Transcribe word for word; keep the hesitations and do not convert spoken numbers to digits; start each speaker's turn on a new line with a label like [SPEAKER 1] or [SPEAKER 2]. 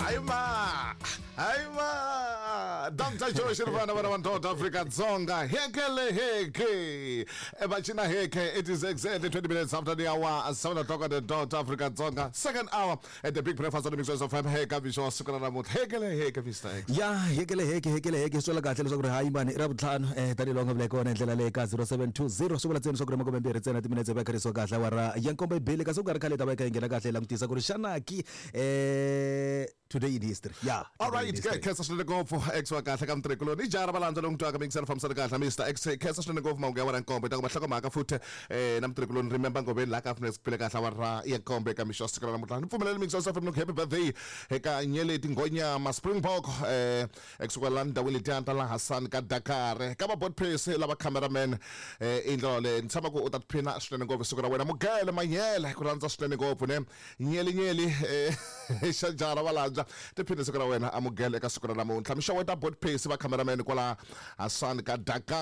[SPEAKER 1] Hayi ma, hayi ma, Doctor Joe Shirvana vana va Afrika Dzonga, hekele heke evachina heke. It is exactly twenty minutes after the hour seven o'clock at the dot Afrika Dzonga, second hour at the Big Breakfast on the Mix F M. Heka mixo wa siku ra namuntlha, hekele heke Mister X.
[SPEAKER 2] Ya hekele heke, hekele heke, swi twala kahle leswaku ri hayi mani i ra vutlhanu eh tanihiloko nga vula kona hi ndlela leyi ka zero seven two zero swi vula ntsena leswaku ri makume mbirhi ntsena timinetse va kharisiwa kahle awara ya nkombo yi bile, kasi ku nga ri khale hi ta va hi kha hi nghena kahle hi langutisa ku ri xana ki eh today in history. Yeah.
[SPEAKER 1] All right, khensa swinene ngopfu X wa kahle ka mutirhikuloni i jara valandza lowu twaka mingiselo fambisana kahle Mister X. Khensa swinene ngopfu mahungu ya wena nkombo ta kuma nhlokomhaka futhi eh na mutirhikuloni remember ngoveni laha ka Afrika phile kahle awara ya nkombo eka mixo siku ra namuntlha. Ni pfumeleli mingiselo sa happy birthday eka Nyeleti Nghonyama Springbok eh ekusuka la ndhawini letiya ta la Hassan ka Dakar ka va board pace lava cameraman eh i ndlela leyi ni tshama ku u ta tiphina swinene ngopfu siku ra wena. Mugele Manyele ku rhandza swinene ngopfu ne nyeli nyeli eh xa jara valandza tiphina siku ra wena amugele eka siku ra namuntlha. Mixo wa ta board pace va cameraman kwala Hassan ka Dakar.